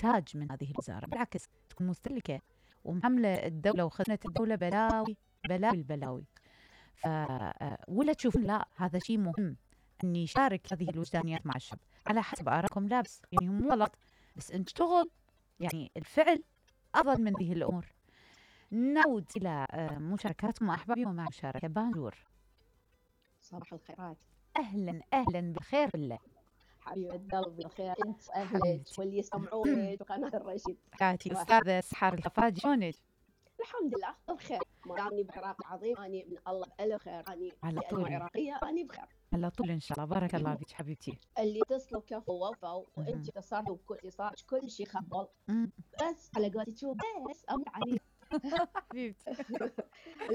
تحتاج من هذه الوزارة، بالعكس تكون مستهلكة ومحملة الدولة وخزنة الدولة بلاوي بلاوي البلاوي. ولا تشوفون لا هذا شيء مهم أن يشارك هذه الوجدانيات مع الشعب على حسب آرائكم؟ لا بس يعني هم غلط، بس نشتغل يعني الفعل أفضل من هذه الأمور. نعود إلى مشاركاتكم أحبابي ومع مشاركة بانجور. صباح الخيرات. أهلا أهلا بالخير بالله حبيبة قلبي الخير، انت واهلك واللي يسمعونك وقناة الرشيد. حياتي الأستاذة سحر الخفاجي، شلونك؟ الحمد لله بخير، ما اني بعراق عظيم، اني من الله بألف خير، اني على لأنه طول عراقية اني بخير على طول إن شاء الله. بارك الله فيك حبيبتي. اللي تصلوا كفوا ووفوا وانت اتصلتوا بكل صار كل شيء خبل، بس على قولتك شو بس امر علي حبيبتي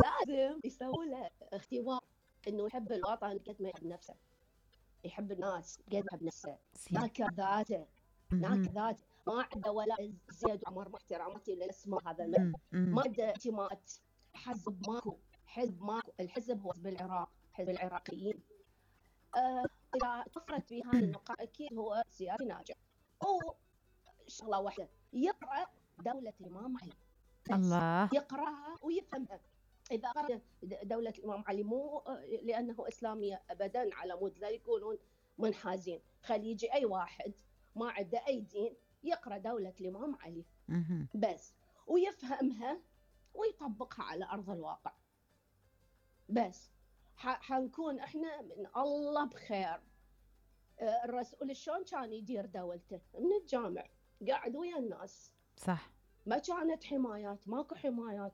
لازم يسووا له اختبار انه يحب الوطن قد ما يحب نفسه، يحب الناس قد ما يحب نفسه، ناكر ذاته ناكر ذاته، ما عنده ولا زياد وعمر مع احتراماتي للاسماء هذا ما عنده انتماءات، حزب ماكو، حزب ماكو، الحزب هو حزب العراق، حزب العراقيين. اذا طفرت في هذه النقاط اكيد هو سياسي ناجح. شغله واحده، يقرا دولة الامام علي، الله يقراها ويفهمها. اذا قرأ دولة الامام علي مو لانه اسلاميه ابدا على مود لا يكونون منحازين، خلي يجي اي واحد ما عنده اي دين يقرا دولة الامام علي بس ويفهمها ويطبقها على ارض الواقع، بس حنكون احنا من الله بخير. الرسول شلون كان يدير دولته؟ من الجامع قاعد ويا الناس، صح، ما كانت حمايات، ماكو حمايات،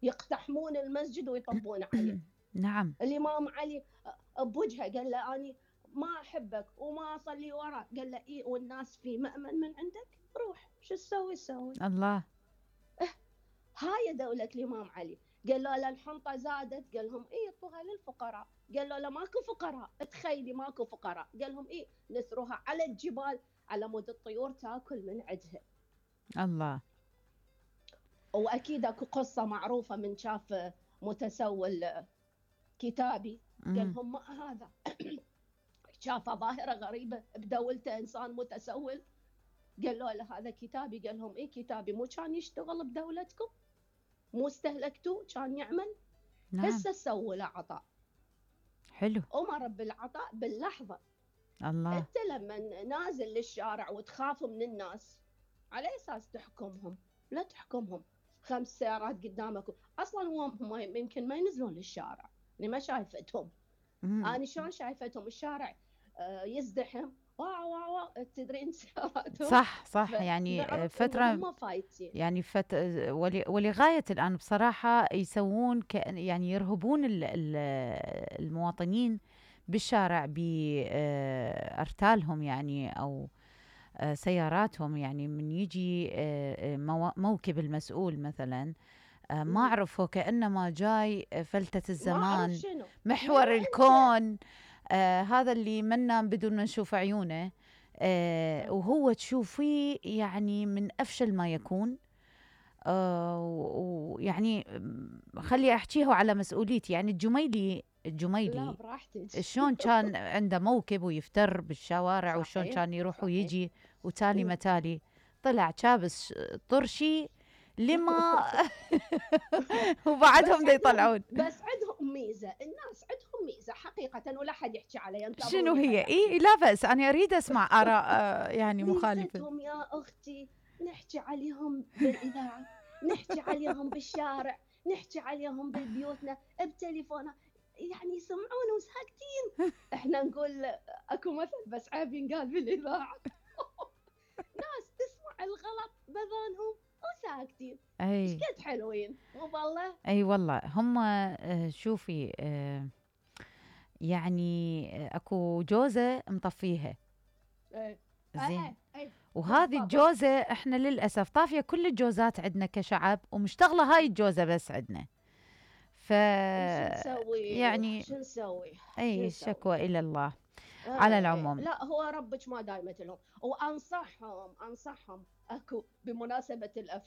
يقتحمون المسجد ويطبون عليه. نعم. الإمام علي بوجهه قال له أني ما أحبك وما أصلي وراك، قال له إيه والناس في مأمن من عندك، روح شو تسوي الله. هاي دولة الإمام علي. قال له لا الحنطة زادت، قال لهم إيه اعطوها للفقراء، قال له لا ماكو فقراء، تخيلي ماكو فقراء، قال لهم إيه نثروها على الجبال على مود الطيور تاكل من عدها. الله. واكيد اكو قصه معروفه من شاف متسول كتابي قال لهم ما هذا شاف ظاهره غريبه بدولته انسان متسول، قال له هذا كتابي، قال لهم ايه كتابي، مو كان يشتغل بدولتكم؟ مو استهلكتوه كان يعمل؟ نعم. هسه سووا له عطاء حلو. امر بالعطاء باللحظه. الله. انت لما نازل للشارع وتخاف من الناس على اساس تحكمهم؟ لا تحكمهم، 5 سيارات قدامك اصلا هم يمكن ما ينزلون للشارع، يعني ما شايفتهم. انا شلون شايفتهم الشارع يزدحم واو واو تدرين سياراتهم. صح يعني فترة هم فايتين يعني ولغاية الآن بصراحة يسوون يعني يرهبون المواطنين بالشارع بأرتالهم يعني أو سياراتهم، يعني من يجي موكب المسؤول مثلا ما أعرفه كأنما جاي فلتة الزمان محور الكون، هذا اللي منا بدون ما نشوف عيونه، وهو تشوفيه يعني من أفشل ما يكون. ويعني خلي أحكيه على مسؤوليتي، يعني الجميلي لا براحتك شلون كان عنده موكب ويفتر بالشوارع وشلون كان يروح ويجي وتالي متالي طلع كابس طرشي لما وبعدهم دا يطلعون. بس عندهم ميزة، الناس عندهم ميزة حقيقة ولا حد يحكي عليها. شنو هي؟ إيه لا بأس، أنا أريد أسمع آراء يعني مخالفة. ميزتهم يا أختي نحكي عليهم بالإذاعة، نحكي عليهم بالشارع، نحكي عليهم بالبيوتنا بتليفوننا، يعني يسمعون وساكتين. احنا نقول اكو مثل بس عيب ينقال بالإذاعة ناس تسمع الغلط بذانهم وساكتين. ايش قد حلوين مو والله؟ اي والله هم شوفي يعني اكو جوزة مطفيها زين، وهذه الجوزة احنا للأسف طافية كل الجوزات عندنا كشعب ومشتغلة هاي الجوزة بس عندنا. يعني شو نسوي؟ اي الشكوى إلى الله. على العموم لا هو ربك ما دايمت لهم، وانصحهم اكو بمناسبة الافلام